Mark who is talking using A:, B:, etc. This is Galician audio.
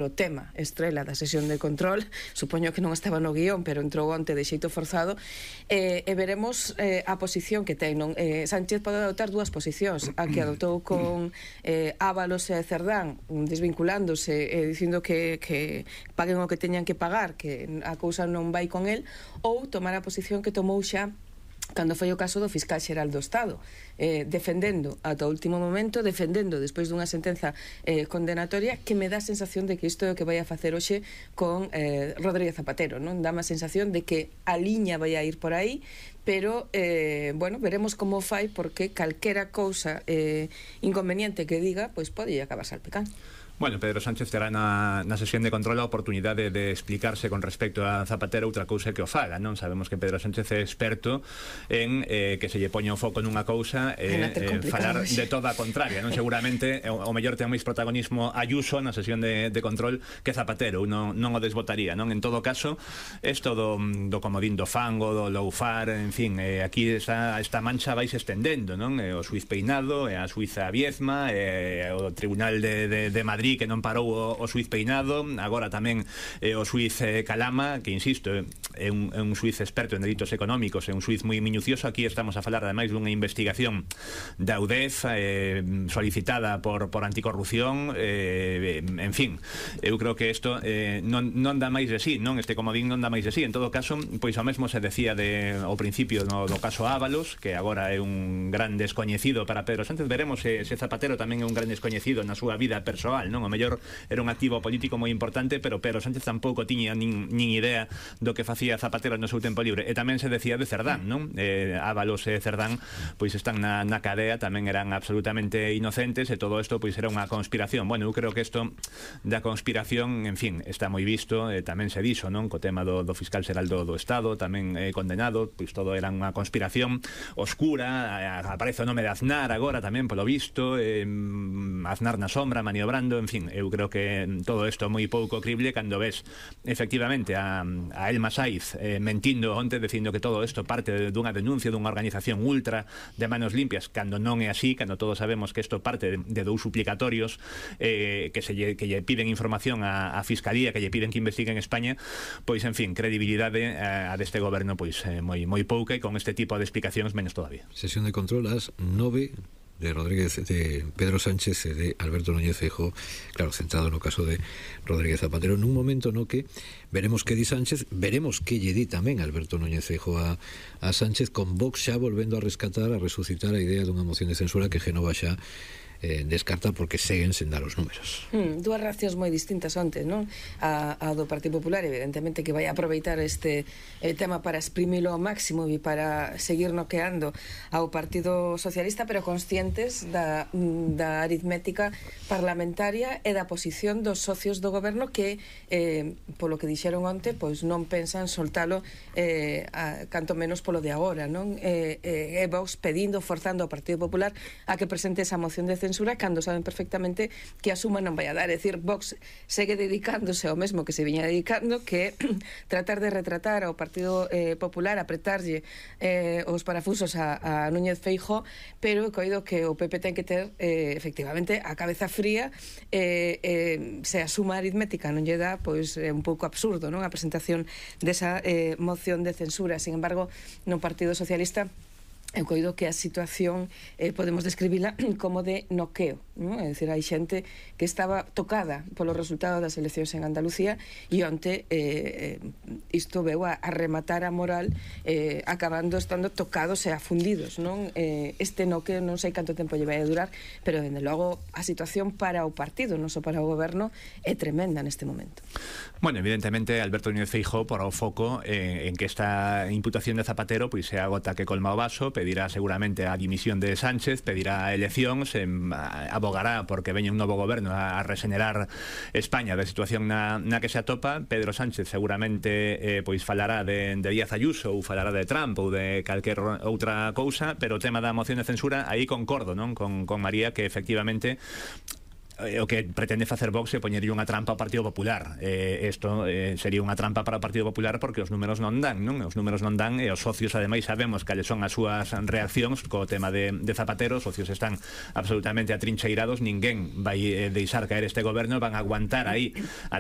A: o tema estrela da sesión de control, supoño que non estaba no guión, pero entrou onte de xeito forzado, e veremos a posición que ten. Sánchez pode adoptar dúas posicións, a que adoptou con Ábalos e Cerdán, desvinculándose, dicindo que paguen o que teñan que pagar, que a cousa non vai con el, ou tomar a posición que tomou xa cando foi o caso do fiscal xeral do Estado, defendendo ata o último momento, defendendo despois dunha sentenza condenatoria, que me dá a sensación de que isto é o que vai a facer hoxe con Rodríguez Zapatero, non? Dá a sensación de que a liña vai a ir por aí, pero, bueno, veremos como fai, porque calquera cousa inconveniente que diga, pois pode acabar salpicando.
B: Bueno, Pedro Sánchez terá na sesión de control a oportunidade de explicarse con respecto a Zapatero outra cousa que o faga, non? Sabemos que Pedro Sánchez é experto en que se lle poña o foco nunha cousa e falar de toda a contraria, non? Seguramente o mellor ten máis protagonismo Ayuso na sesión de control que Zapatero, non o desbotaría, non? En todo caso, isto do comodín do fango, do loufar, en fin, aquí esta mancha vai se estendendo, non? O xuiz Peinado, a xuiza Viezma, o Tribunal de Madrid que non parou o xuiz Peinado, agora tamén o xuiz Calama, que insisto, é un xuiz experto en delitos económicos, é un xuiz moi minucioso. Aquí estamos a falar ademais dunha investigación da UDEF solicitada por anticorrupción, en fin, eu creo que isto non dá máis de sí, non? Este comodín non dá máis de sí. En todo caso, pois o mesmo se decía ao principio do caso Ábalos, que agora é un gran descoñecido para Pedro Sánchez. Veremos se Zapatero tamén é un gran descoñecido na súa vida persoal, non? O mellor era un activo político moi importante, pero Pedro Sánchez tampouco tiña nin idea do que facía Zapatero no seu tempo libre. E tamén se decía de Cerdán, non? Ábalos e Cerdán pois están na cadea, tamén eran absolutamente inocentes, e todo isto pois era unha conspiración. Bueno, eu creo que isto da conspiración, en fin, está moi visto, tamén se dixo, non? Co tema do fiscal xeral do Estado, tamén condenado, pois todo era unha conspiración oscura. Aparece o nome de Aznar agora tamén, polo visto, Aznar na sombra, maniobrando, en fin, eu creo que todo isto é moi pouco crible cando ves efectivamente a Elma Saiz mentindo onte, dicindo que todo isto parte dunha denuncia dunha organización ultra de manos limpias, cando non é así, cando todos sabemos que isto parte de dous suplicatorios que lle piden información á Fiscalía, que lle piden que investigue en España. Pois, en fin, credibilidade a deste goberno pois moi pouca, e con este tipo de explicacións menos todavía.
C: Sesión de control ás 9 de Pedro Sánchez e de Alberto Núñez Feijóo, claro, centrado no caso de Rodríguez Zapatero, nun momento no que veremos que di Sánchez, veremos que lle di tamén Alberto Núñez Feijóo a Sánchez, con Vox xa volvendo a rescatar, a resucitar a idea dunha moción de censura que Génova xa descarta, porque seguen sen dar os números.
A: Dúas reaccións moi distintas onte, non? A do Partido Popular, evidentemente, que vai aproveitar este tema para exprimilo ao máximo e para seguir noqueando ao Partido Socialista, pero conscientes da aritmética parlamentaria e da posición dos socios do goberno, que polo que dixeron onte, pois non pensan soltalo canto menos polo de agora, non? E Vox pedindo, forzando ao Partido Popular a que presente esa moción de censura, cando saben perfectamente que a suma non vai a dar. É dicir, Vox segue dedicándose ao mesmo que se viña dedicando, que tratar de retratar ao Partido Popular, apretarlle os parafusos a Núñez Feijóo, pero coido que o PP ten que ter efectivamente a cabeza fría, se a suma aritmética non lle dá, pois é un pouco absurdo, non? A presentación desa moción de censura. Sin embargo, no Partido Socialista eu coido que a situación podemos describila como de noqueo, non? É dicir, hai xente que estaba tocada polo resultado das eleccións en Andalucía, e onte isto veu a rematar a moral, acabando estando tocados e afundidos, non? Este noqueo non sei canto tempo lle vai a durar, pero dende logo a situación para o partido, non só para o goberno, é tremenda neste momento.
B: Bueno, evidentemente Alberto Núñez Feijóo porá o foco en que esta imputación de Zapatero pois é a gota que colma o vaso. Pedirá seguramente a dimisión de Sánchez, pedirá eleccións, abogará porque veña un novo goberno a regenerar España da situación na que se atopa. Pedro Sánchez seguramente pois falará de Díaz Ayuso, ou falará de Trump ou de calquer outra cousa, pero o tema da moción de censura, aí concordo, non? Con María, que efectivamente o que pretende facer Vox é poñerlle unha trampa ao Partido Popular. Isto sería unha trampa para o Partido Popular porque os números non dan, non? Os números non dan e os socios ademais sabemos cales son as súas reaccións co tema de Zapatero. Os socios están absolutamente atrincheirados, ninguén vai deixar caer este goberno, van a aguantar aí